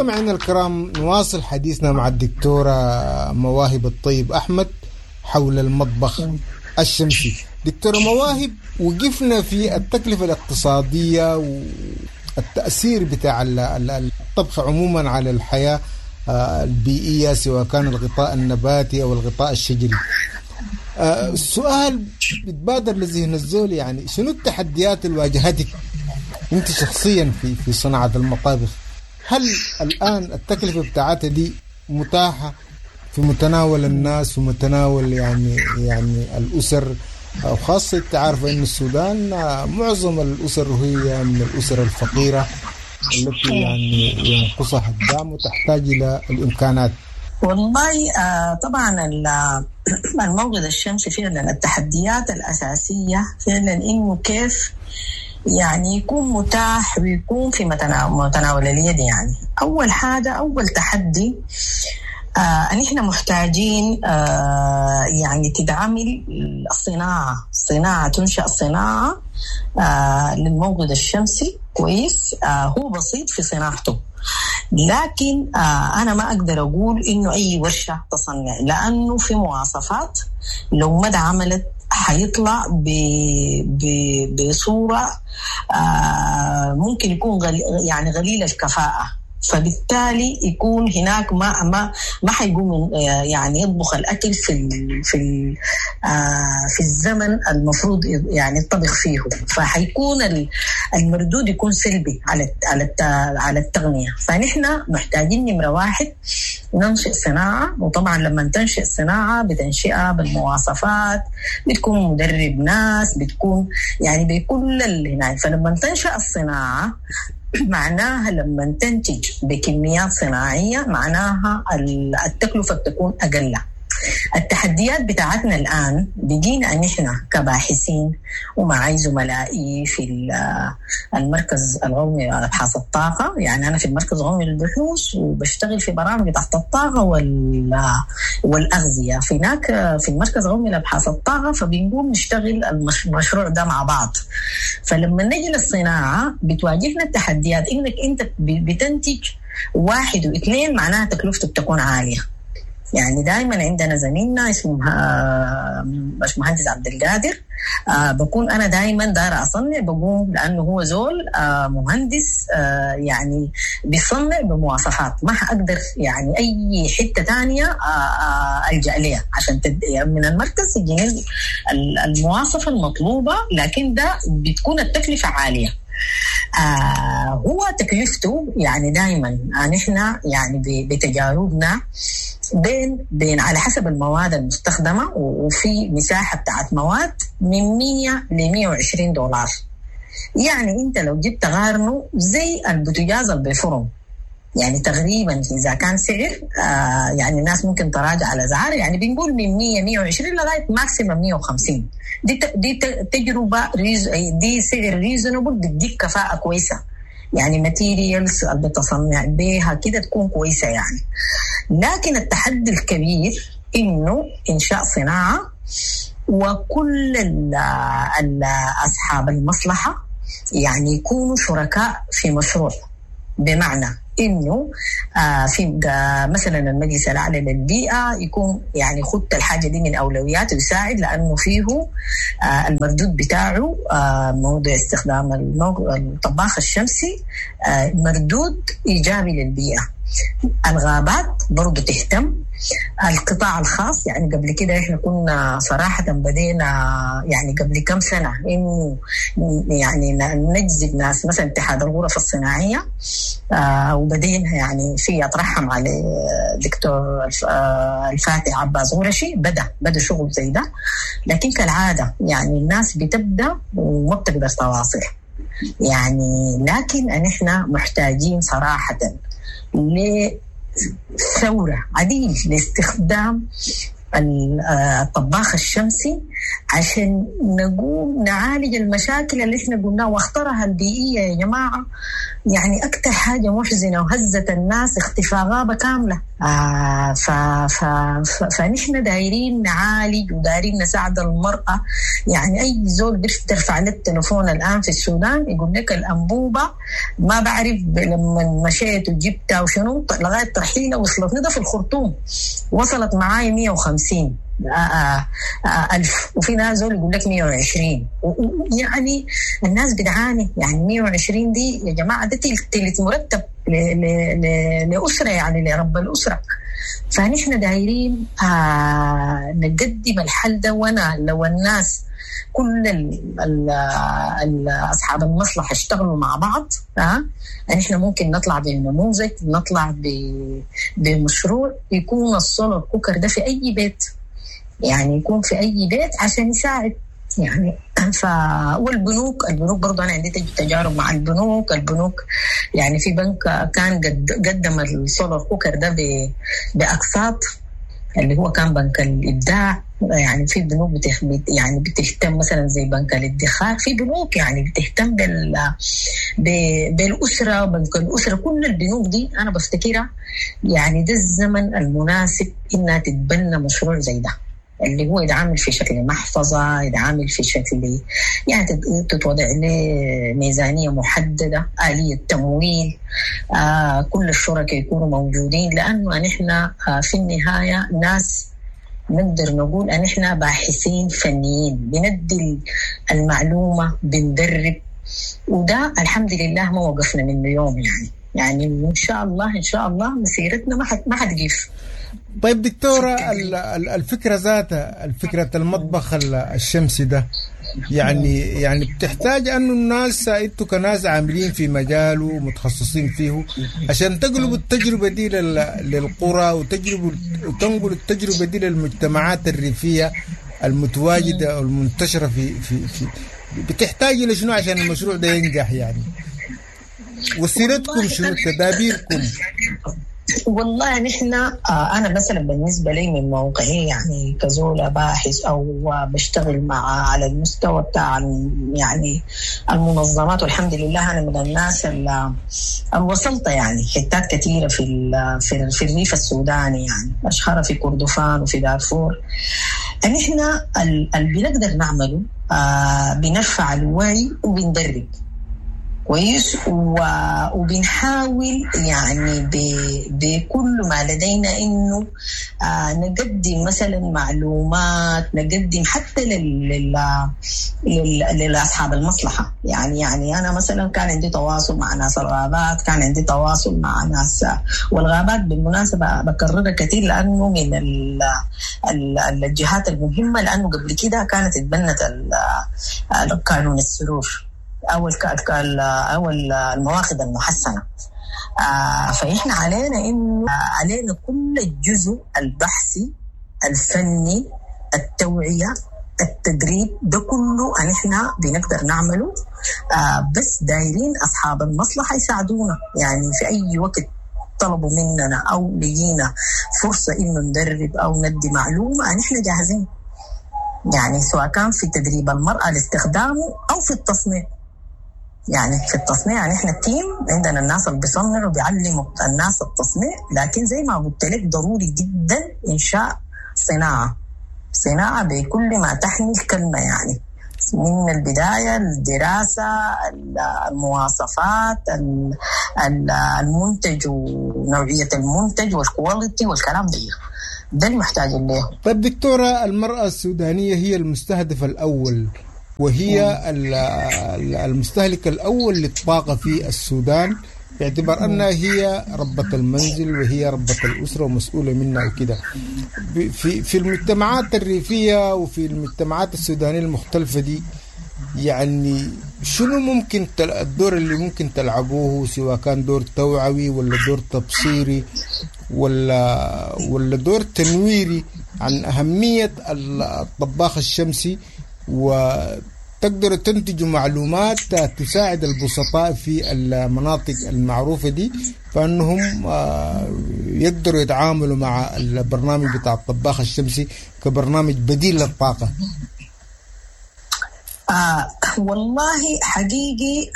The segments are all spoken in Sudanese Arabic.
مستمعينا الكرام، نواصل حديثنا مع الدكتورة مواهب الطيب أحمد حول المطبخ الشمسي. دكتورة مواهب، وقفنا في التكلفة الاقتصادية والتأثير بتاع الطبخ عموما على الحياة البيئية، سواء كان الغطاء النباتي أو الغطاء الشجري. السؤال بيتبادر لذهن الزول، يعني شنو التحديات اللي واجهتك انت شخصيا في صناعة المطابخ؟ هل الآن التكلفة بتاعتها دي متاحة في متناول الناس ومتناول يعني الأسر؟ وخاصة انت عارفة إن السودان معظم الأسر هي من الأسر الفقيرة التي يعني ينقصها الدعم وتحتاج إلى الإمكانات. والله طبعا الموقد الشمسي فعلا التحديات الأساسية فعلا إنه كيف يعني يكون متاح ويكون في متناول اليد. يعني أول حاجة، أول تحدي أن إحنا محتاجين يعني تدعمل الصناعة، صناعة تنشأ صناعة للموقد الشمسي كويس. هو بسيط في صناعته، لكن أنا ما أقدر أقول إنه أي ورشة تصنع، لأنه في مواصفات لو ما اتعملت حيطلع بصورة ممكن يكون يعني غليل الكفاءة، فبالتالي يكون هناك ما ما ما حيقوم يعني يطبخ الاكل في الزمن المفروض يعني يطبخ فيه، فحيكون المردود يكون سلبي على التغنية. فنحن محتاجين نمرة واحد ننشئ صناعة، وطبعا لما تنشئ صناعة بتنشئها بالمواصفات، بتكون مدرب ناس، بتكون يعني بكل اللي هناك. فلما تنشأ الصناعة معناها لما تنتج بكميات صناعية معناها التكلفة بتكون أقل. التحديات بتاعتنا الآن بقينا أن إحنا كباحثين ومعي زملائي في المركز القومي لأبحاث الطاقة، يعني أنا في المركز القومي للبحوث وبشتغل في برامج تحت الطاقة والأغذية في هناك في المركز القومي لأبحاث الطاقة، فبنقوم نشتغل المشروع ده مع بعض. فلما نجي للصناعة بتواجهنا التحديات إنك أنت بتنتج 1 و2 معناها تكلفته بتكون عالية. يعني دايما عندنا زميلنا اسمه باشمهندس عبد القادر، بكون انا دايما دايره اصنع، بقوم لانه هو زول مهندس، يعني بيصنع بمواصفات ما حقدر يعني اي حته ثانيه الجا لها عشان من المركز يجيني المواصفه المطلوبه، لكن ده بتكون التكلفه عاليه. هو تكلفته يعني دايما نحن يعني بتجاربنا بين على حسب المواد المستخدمة، وفي مساحة بتاعت مواد من 100 ل 120 دولار. يعني انت لو جبت غارنه زي البوتاجاز اللي بالفرن، يعني تقريبا اذا كان سعر يعني الناس ممكن تراجع على اسعار، يعني بنقول من 100 120 لغايه maximum 150. دي تجربه دي سعر reasonable، بتديك كفاءه كويسه، يعني materials اللي بتصنع بيها كده تكون كويسه يعني. لكن التحدي الكبير انه انشاء صناعه، وكل اصحاب المصلحه يعني يكونوا شركاء في مشروع، بمعنى انه في مثلا المجلس الاعلى للبيئه يكون يعني خد الحاجه دي من اولوياته ويساعد، لانه فيه المردود بتاعه موضوع استخدام الطباخ الشمسي مردود ايجابي للبيئه. الغابات برضو تهتم، القطاع الخاص يعني قبل كده احنا كنا صراحة بدينا يعني قبل كم سنة انه يعني نجذب ناس مثلا اتحاد الغرف الصناعية، وبدينا يعني في اترحم على دكتور الفاتح عباس غرشي، بدأ شغل زي ده، لكن كالعادة يعني الناس بتبدأ وما بتقدر تواصل يعني. لكن احنا محتاجين صراحة لثورة عديل لاستخدام الطباخ الشمسي عشان نقوم نعالج المشاكل اللي احنا قلناها واخطرها البيئية يا جماعة. يعني أكثر حاجة محزنة وهزت الناس اختفاء غابة كاملة. فنحن دايرين نعالج ودايرين نساعد المرأة. يعني أي زول بترفع له التليفون الآن في السودان يقول لك الأنبوبة ما بعرف لما مشيت وجبتها وشنو لغاية ترحيلة وصلتني ده في الخرطوم، وصلت معاي 150 ألف، وفي ناس زول يقول لك 120. يعني الناس بتعاني، يعني 120 دي يا جماعة ده تلت مرتب لأسرة، يعني لرب الأسرة. فنحن دايرين نقدم الحل ده. وانا لو الناس كل أصحاب المصلحة اشتغلوا مع بعض، نحن ممكن نطلع بنموذج، نطلع بمشروع يكون ال solar cooker ده في أي بيت، يعني يكون في أي بيت عشان يساعد يعني. والبنوك، البنوك برضو أنا عندي تجارب مع البنوك. البنوك يعني في بنك كان قدم ال solar cooker ده بأقساط، اللي هو كان بنك الإبداع. يعني في بنوك يعني بتهتم مثلا زي بنك الادخار، في بنوك يعني بتهتم بالأسرة، بنك الأسرة. كل البنوك دي أنا بفتكرها يعني ده الزمن المناسب إنها تتبنى مشروع زي ده، اللي هو يتعامل في شكل محفظة، يتعامل في شكل يعني تتوضع له ميزانية محددة، آلية تمويل، كل الشركاء يكونوا موجودين. لأنه نحن في النهاية ناس نقدر نقول أن إحنا باحثين فنيين، بندي المعلومة، بندرب، وده الحمد لله ما وقفنا منه يوم. يعني إن شاء الله إن شاء الله مسيرتنا ما حتقف. طيب دكتورة، الفكرة ذاتها، الفكرة المطبخ الشمسي ده، يعني بتحتاج أنه الناس انتوا كناس عاملين في مجاله ومتخصصين فيه عشان تقلبوا التجربة دي للقرى وتنقلوا التجربة دي للمجتمعات الريفية المتواجدة والمنتشرة في في في بتحتاج إلى شنو عشان المشروع ده ينجح يعني؟ وسيرتكم شنو، تدابيركم؟ والله نحن أنا مثلا بالنسبة لي من موقعي يعني كزولة باحث أو بشتغل مع على المستوى بتاع يعني المنظمات، والحمد لله أنا من الناس اللي وصلت يعني حتات كثيرة في الريف السوداني، يعني أشهر في كردفان وفي دارفور. نحن اللي بنقدر نعمله بنرفع الوعي وبندرب كويس، وبنحاول يعني بكل ما لدينا انه نقدم مثلا معلومات، نقدم حتى لاصحاب المصلحة. يعني انا مثلا كان عندي تواصل مع ناس الغابات، كان عندي تواصل مع ناس، والغابات بالمناسبة بكررها كثير لانه من الجهات المهمة، لانه قبل كده كانت اتبنت قانون السرور او المواخذ المحسنه. فإحنا علينا إنه علينا كل الجزء البحثي الفني، التوعية، التدريب، ده كله نحن بنقدر نعمله، بس دايرين أصحاب المصلحة يساعدونا. يعني في أي وقت طلبوا مننا أو لقينا فرصة إنه ندرب أو ندي معلومة نحن جاهزين، يعني سواء كان في تدريب المرأة لاستخدامه أو في التصنيع. يعني في التصنيع نحن ال team عندنا الناس اللي بيصنعوا بيعلموا الناس التصنيع، لكن زي ما قلت لك ضروري جدا إنشاء صناعة بكل ما تحمل كلمة، يعني من البداية الدراسة، المواصفات، المنتج ونوعية المنتج وال quality والكلام ده المحتاج له. طيب دكتورة، المرأة السودانية هي المستهدف الأول وهي المستهلك الأول للطاقة في السودان، باعتبار أنها هي ربة المنزل وهي ربة الأسرة ومسؤولة منها وكده. في المجتمعات الريفية وفي المجتمعات السودانية المختلفة دي، يعني شنو ممكن الدور اللي ممكن تلعبوه، سواء كان دور توعوي ولا دور تبصيري ولا دور تنويري عن أهمية الطباخ الشمسي، وتقدروا تنتجوا معلومات تساعد البسطاء في المناطق المعروفة دي، فأنهم يقدروا يتعاملوا مع البرنامج بتاع الطباخ الشمسي كبرنامج بديل للطاقة؟ والله حقيقي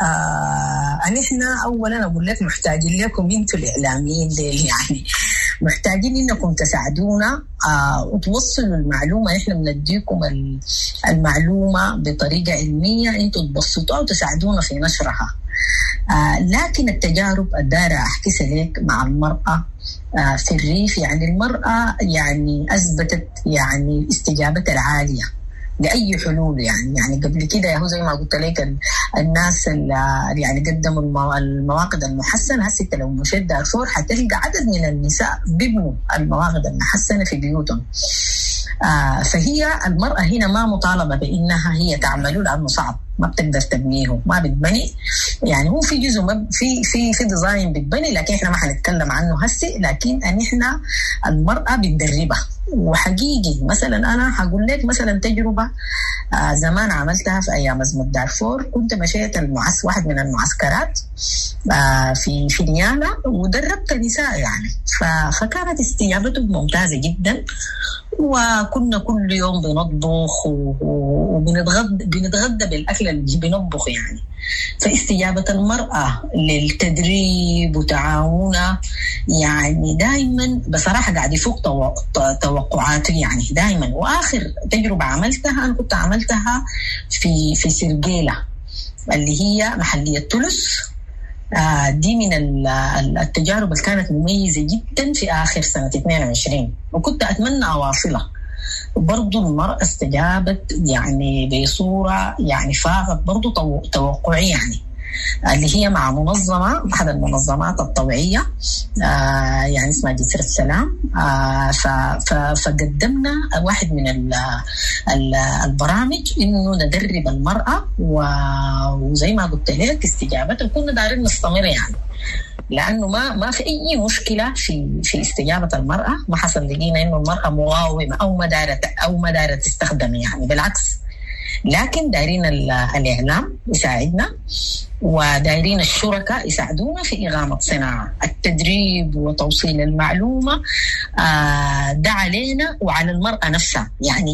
نحن اولا اقول لك محتاجين لكم انتم الاعلاميين ديل، يعني محتاجين انكم تساعدونا وتوصلوا المعلومة. احنا بنديكم المعلومة بطريقة علمية، انتم تبسطوها وتساعدونا في نشرها. لكن التجارب الدايرة احكيها لك مع المراة في الريف، يعني المراة يعني اثبتت يعني استجابتها العالية لاي حلول. يعني قبل كده هو زي ما قلت لك الناس اللي يعني قدموا المواقد المحسنه، هسه انت لو مشيت دارفور حتلقى عدد من النساء بيبنوا المواقد المحسنه في بيوتهم. فهي المرأة هنا ما مطالبة بإنها هي تعمله لأنه صعب، ما بتقدر تبنيه، ما بتبني. يعني هو في جزء في في في design بتبني، لكن احنا ما حنتكلم عنه هسي. لكن ان احنا المرأة بندربها. وحقيقي مثلا انا حقول لك مثلا تجربة زمان عملتها في ايام ازمة دارفور. كنت مشيت واحد من المعسكرات في نيالا ودربت نساء يعني، فكانت استجابتهم ممتازة جدا. وكنا كل يوم بنطبخ وبنتغدى بالاكل اللي بنطبخ يعني. فاستجابة المرأة للتدريب وتعاونها يعني دائما بصراحة قاعد يفوق توقعاتي يعني دائما. وآخر تجربة عملتها أنا كنت عملتها في سرقيلة اللي هي محلية تلس. دي من التجارب اللي كانت مميزة جدا في آخر سنة 22، وكنت أتمنى أواصلها. برضو المرأة استجابت يعني بصورة يعني فاقت برضو توقعي يعني، اللي هي مع منظمة، أحد المنظمات الطوعية يعني اسمها جسر السلام. فقدمنا واحد من البرامج إنه ندرب المرأة، وزي ما قلت لك استجابتها كنا دارين نستمر يعني، لأنه ما في أي مشكلة في استجابة المرأة. ما حصل لقينا إنه المرأة مقاومة أو ما دارت تستخدم يعني، بالعكس. لكن دايرين الإعلام يساعدنا، ودايرين الشركاء يساعدونا في إقامة صناعة التدريب وتوصيل المعلومة. ده علينا وعلى المرأة نفسها.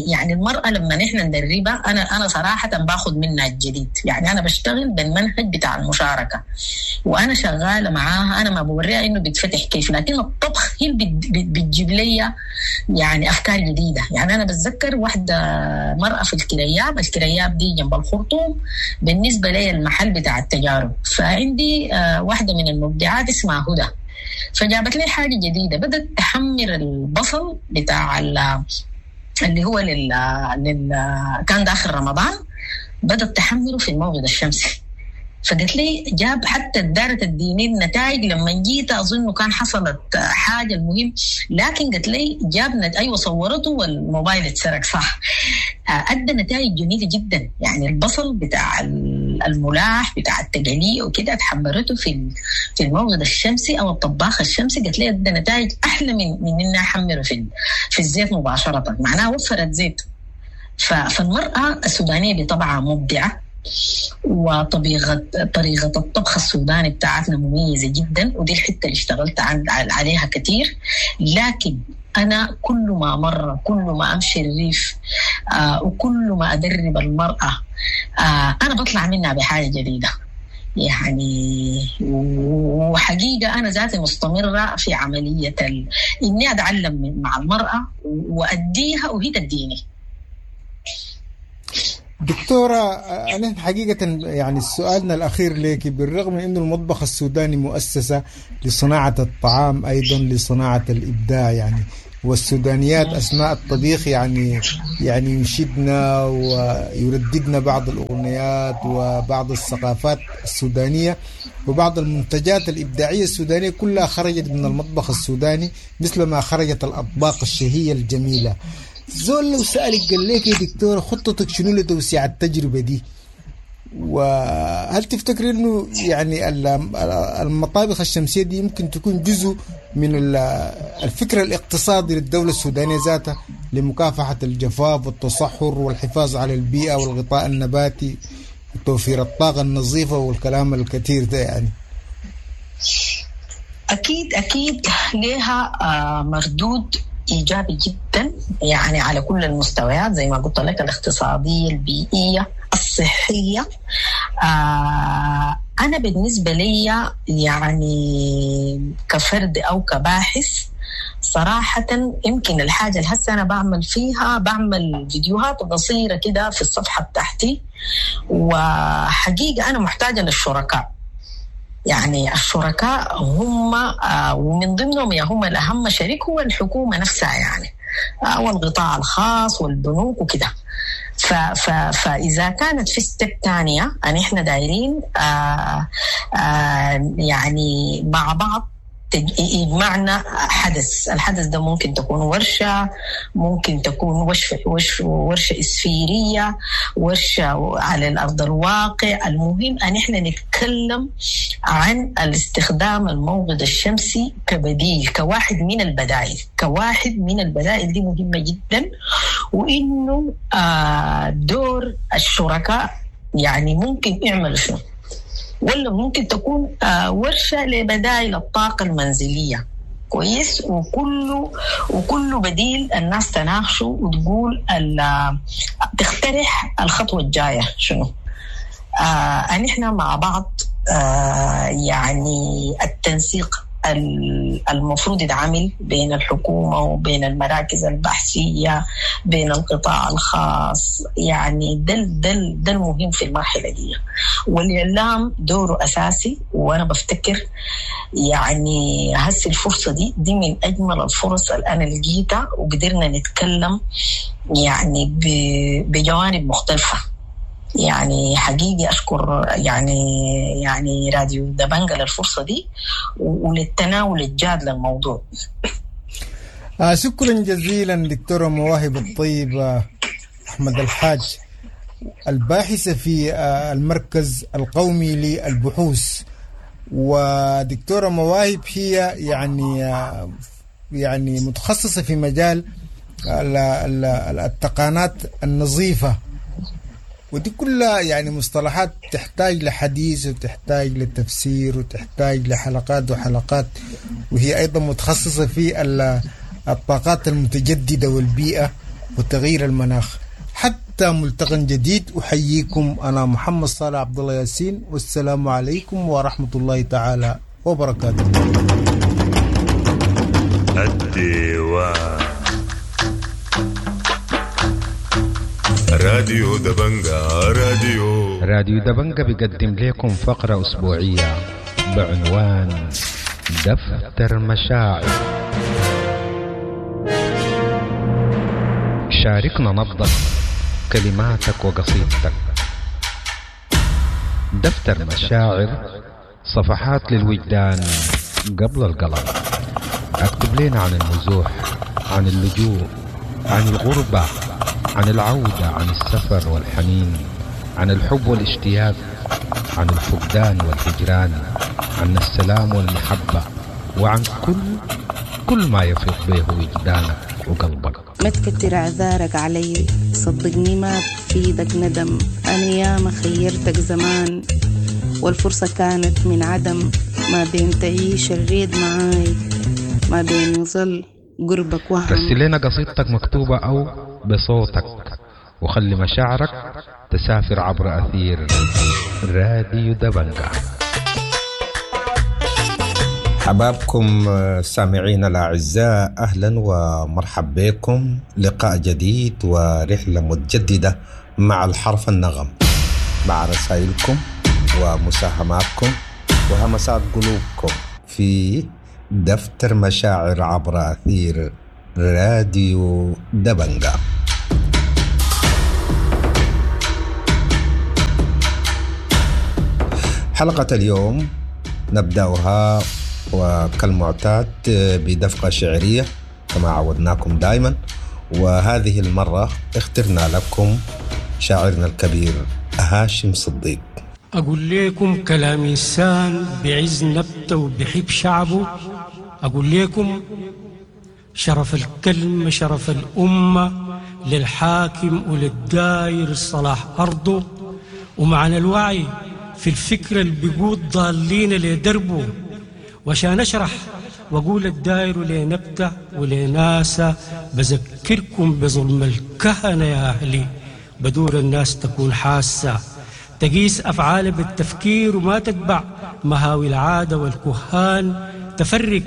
يعني المرأة لما نحن ندربها، أنا صراحة باخذ منها الجديد. يعني أنا بشتغل بالمنهج بتاع المشاركة وأنا شغالة معاها، أنا ما بوريها إنه بيتفتح كيف، لكن الطبخ هي بتجيب لي يعني أفكار جديدة. يعني أنا بتذكر واحدة مرأة في الكرياب، الكرياب دي جنب الخرطوم، بالنسبة لي المحل بتاع التجارب. فعندي واحدة من المبدعات اسمها هدى، فجابت لي حاجة جديدة، بدأت تحمر البصل بتاع اللي هو كان داخل رمضان، بدأت تحمره في الموقد الشمسي. فقالت لي جاب حتى دارت الديني النتائج لما جيت أظن كان حصلت حاجة، المهم لكن قالت لي جاب أيوة صورته والموبايل اتسرق صح. أدى نتائج جميلة جدا. يعني البصل بتاع الملاح بتاع التقلية وكده تحمرته في الموقد الشمسي أو الطباخ الشمسي، قالت لي أدى نتائج أحلى من إنها أحمره في الزيت مباشرة، معناها وفرت زيت. فالمرأة السودانية بطبعها مبدعة، وطريقة الطبخ السوداني بتاعتنا مميزة جدا، ودي الحتة اللي اشتغلت عليها كتير. لكن أنا كل ما مرة، كل ما أمشي الريف، وكل ما أدرب المرأة، أنا بطلع منها بحاجة جديدة يعني. وحقيقة أنا ذاتي مستمرة في عملية إني أتعلم مع المرأة وأديها وهي تديني. دكتورة، أنا حقيقة يعني سؤالنا الأخير لك، بالرغم من أنه المطبخ السوداني مؤسسة لصناعة الطعام أيضا لصناعة الإبداع يعني، والسودانيات أثناء الطبيخ يعني ينشدنا ويرددنا بعض الأغنيات وبعض الثقافات السودانية وبعض المنتجات الإبداعية السودانية كلها خرجت من المطبخ السوداني، مثل ما خرجت الأطباق الشهية الجميلة. زول لو سألك قال لك يا دكتور خطتك شنو لتوسيع التجربة دي، وهل تفتكر انه يعني المطابخ الشمسية دي يمكن تكون جزء من الفكرة الاقتصادي للدولة السودانية ذاتها لمكافحة الجفاف والتصحر والحفاظ على البيئة والغطاء النباتي وتوفير الطاقة النظيفة والكلام الكثير ده؟ يعني أكيد أكيد لها مردود إيجابي جدا يعني على كل المستويات زي ما قلت لك، الاقتصادية، البيئية، الصحية. أنا بالنسبة لي يعني كفرد أو كباحث صراحة يمكن الحاجة اللي هسه أنا بعمل فيها، بعمل فيديوهات قصيرة كده في الصفحة بتاعتي، وحقيقة أنا محتاجة للشركاء. يعني الشركاء هم ومن ضمنهم يا هم الأهم شريك هو الحكومة نفسها يعني، والقطاع الخاص والبنوك وكده. فإذا كانت في step تانية أن إحنا دايرين يعني مع بعض يجمعنا حدث، الحدث ده ممكن تكون ورشة، ممكن تكون ورشة إسفيرية، ورشة على الأرض الواقع. المهم أن إحنا نتكلم عن الاستخدام الموقد الشمسي كبديل، كواحد من البدائل، كواحد من البدائل دي مهمة جدا. وإنه دور الشركاء يعني ممكن يعملوا شنو، ولا ممكن تكون ورشة لبدائل الطاقة المنزلية. كويس، وكل بديل الناس تناقشه وتقول تقترح الخطوة الجاية شنو. أن إحنا مع بعض يعني التنسيق المفروض يتعامل بين الحكومة وبين المراكز البحثية، بين القطاع الخاص، يعني ده المهم في المرحلة دي. والإعلام دوره أساسي، وأنا بفتكر يعني هسي الفرصة دي من أجمل الفرص اللي أنا لقيتها، وقدرنا نتكلم يعني بجوانب مختلفة. يعني حقيقي أشكر يعني راديو دبنجة للفرصة دي وللتناول الجاد للموضوع. شكرا جزيلا دكتورة مواهب الطيب أحمد الحاج، الباحثة في المركز القومي للبحوث. ودكتورة مواهب هي يعني متخصصة في مجال التقانات النظيفة، ودي كلها يعني مصطلحات تحتاج لحديث وتحتاج لتفسير وتحتاج لحلقات وحلقات. وهي أيضا متخصصة في الطاقات المتجددة والبيئة وتغيير المناخ. حتى ملتقى جديد، أحييكم أنا محمد صالح عبد الله ياسين، والسلام عليكم ورحمة الله تعالى وبركاته. الديوان راديو دبنجة، راديو دبنجة بيقدم لكم فقرة أسبوعية بعنوان دفتر مشاعر. شاركنا نبضك، كلماتك وقصيدتك. دفتر مشاعر، صفحات للوجدان قبل القلم. اكتب لنا عن النزوح، عن اللجوء، عن الغربة، عن العودة، عن السفر والحنين، عن الحب والاشتياق، عن الفقدان والهجران، عن السلام والمحبة، وعن كل ما يفيض به وجدانك وقلبك. ما تكتر اعذارك علي، صدقني ما بفيدك ندم. أنا ياما خيرتك زمان والفرصة كانت من عدم. ما بين تعيش الريد معاي، ما بين يظل قربك وهم. رسل لنا قصيدتك مكتوبة أو بصوتك، وخلي مشاعرك تسافر عبر أثير راديو دبنجة. حبابكم السامعين الأعزاء، أهلا ومرحب بكم. لقاء جديد ورحلة متجددة مع الحرف النغم، مع رسائلكم ومساهماتكم وهمسات قلوبكم في دفتر مشاعر عبر أثير راديو دبنجة. حلقة اليوم نبدأها وكالمعتاد بدفقة شعرية كما عودناكم دائما، وهذه المرة اخترنا لكم شاعرنا الكبير هاشم صديق. أقول لكم كلام إنسان بعز نبته وبحب شعبه. أقول لكم شرف الكلمة شرف الأمة للحاكم وللداير صلاح أرضه، ومعنى الوعي في الفكرة اللي بيقود ضالين لدربه. وعشان أشرح وأقول الداير ولنبته ولناسة، بذكركم بظلم الكهنة يا أهلي، بدور الناس تكون حاسة. تقيس أفعالها بالتفكير وما تتبع مهاوي العادة والكهان، تفرق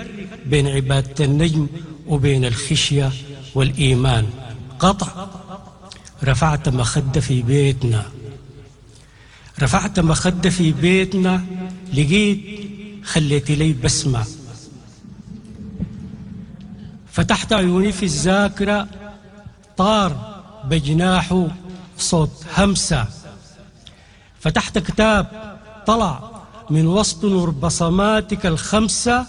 بين عبادة النجم وبين الخشية والإيمان. قطع. رفعت مخدة في بيتنا، رفعت مخدة في بيتنا، لقيت خليتي لي بسمة. فتحت عيوني في الذاكرة، طار بجناحه صوت همسة. فتحت كتاب طلع من وسط نور بصماتك الخمسة،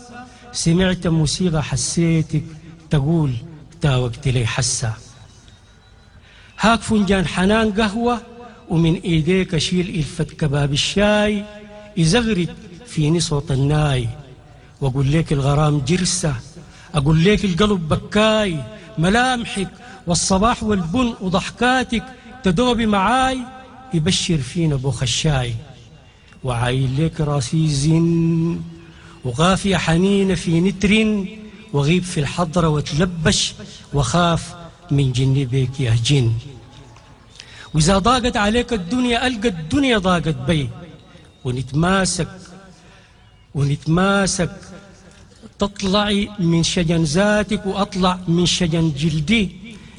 سمعت موسيقى حسيتك تقول تاوقت لي حسة. هاك فنجان حنان قهوة ومن ايديك اشيل الفة كباب الشاي، يزغرد فيني صوت الناي، واقول لك الغرام جرسة، اقول لك القلب بكاي، ملامحك والصباح والبن وضحكاتك تدوبي معاي، يبشر فينا بوخ الشاي. وعايل لك راسي زن وغافية حنينة في نتر، وغيب في الحضرة وتلبش وخاف من جني بيك يا جن. وإذا ضاقت عليك الدنيا ألقى الدنيا ضاقت بي، ونتماسك ونتماسك، تطلعي من شجن ذاتك وأطلع من شجن جلدي،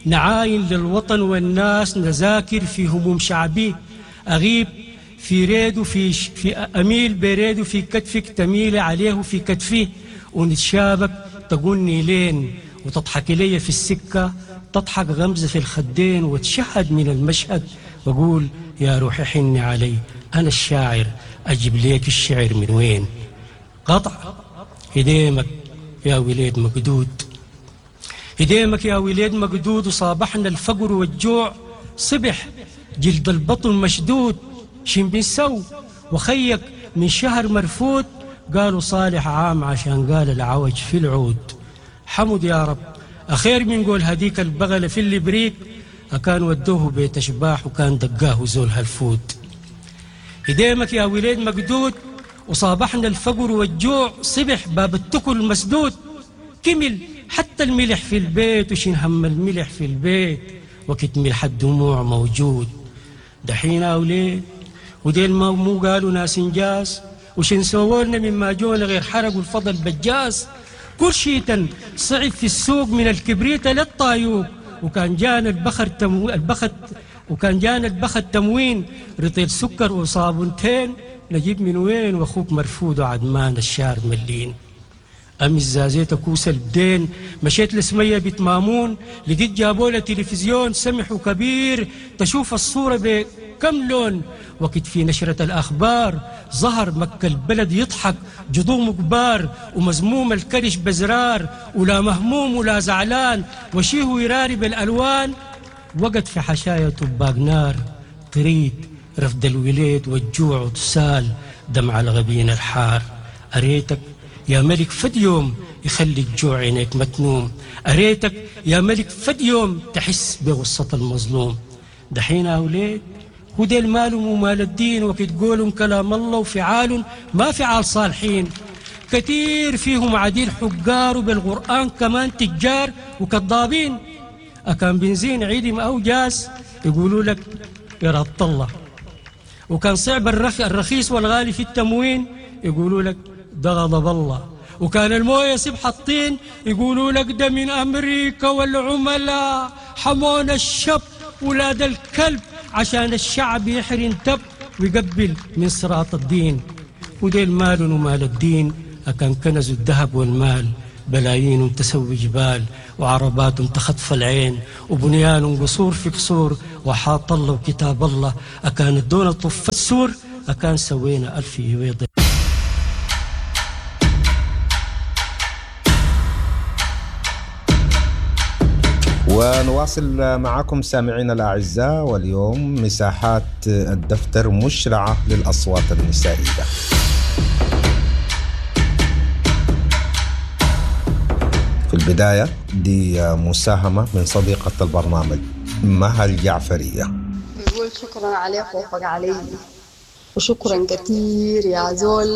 نعاين للوطن والناس نذاكر في هموم شعبي، أغيب في ريد في أميل بريد في كتفك تميل عليه في كتفي، ونتشابك تقولني لين وتضحك لي في السكة، تضحك غمزة في الخدين وتشهد من المشهد، وأقول يا روحي حني علي أنا الشاعر أجيب ليك الشعر من وين. قطع. هديمك يا وليد مقدود، هديمك يا وليد مقدود، وصابحنا الفقر والجوع، صبح جلد البطن مشدود، شن بنسو وخيك من شهر مرفوت، قالوا صالح عام عشان قال العوج في العود. حمد يا رب أخير من قول هديك البغلة في اللي بريك، أكان ودوه بيت أشباح وكان دقاه زول هالفوت. هديمك يا وليد مقدود، وصابحنا الفقر والجوع، صبح باب التكل مسدود، كمل حتى الملح في البيت، وشين هم الملح في البيت وقت ملح الدموع موجود. دحين أوليد وديل ما مو قالوا ناس انجاز، وشين سوولنا مما جونا غير حرقوا الفضل بجاز، كل شيء صعب في السوق من الكبريت للطايوق، وكان جانا البخر البخت وكان جانا البخت تموين، رطيل سكر وصابونتين نجيب من وين، واخوك مرفوض وعدمان الشار ملين. أمس زازيت كوس البدين مشيت لسمية بيت مامون، لقيت جابولة تلفزيون سمح وكبير، تشوف الصورة بكم لون. وقت في نشرة الأخبار ظهر مكة البلد يضحك جضوم كبار، ومزموم الكرش بزرار، ولا مهموم ولا زعلان، وشيه يراري بالألوان. وقت في حشايا طباق نار، طريد رفد الوليد والجوع وتسال دمع الغبين الحار. أريتك يا ملك فد يوم يخلي الجوع عينيك متنوم، أريتك يا ملك فد يوم تحس بغصة المظلوم. دحين أولاد وديل مالهم ومال الدين، وقت قولهم كلام الله وفعال ما فعال صالحين، كثير فيهم عديل حجار وبالقرآن كمان تجار وكذابين. أكان بنزين عيدم أو جاز يقولوا لك إرادة الله، وكان صعب الرخيص والغالي في التموين يقولوا لك ده غضب الله، وكان المويه سبح الطين يقولوا لك ده من أمريكا والعملاء حمونا الشب ولاد الكلب عشان الشعب يحرن تب ويقبل من صراط الدين. وديل مال ومال الدين أكان كنزوا الذهب والمال، بلايين تسوي جبال وعربات تخطف العين، وبنيان قصور في قصور، وحاط الله وكتاب الله أكان الدون طف السور، أكان سوينا ألف يويض. ونواصل معكم سامعينا الأعزاء، واليوم مساحات الدفتر مشرعة للأصوات النسائية. في البداية دي مساهمة من صديقة البرنامج مها الجعفرية. نقول شكرا على خوفك علي، وشكرا كثير يا زول.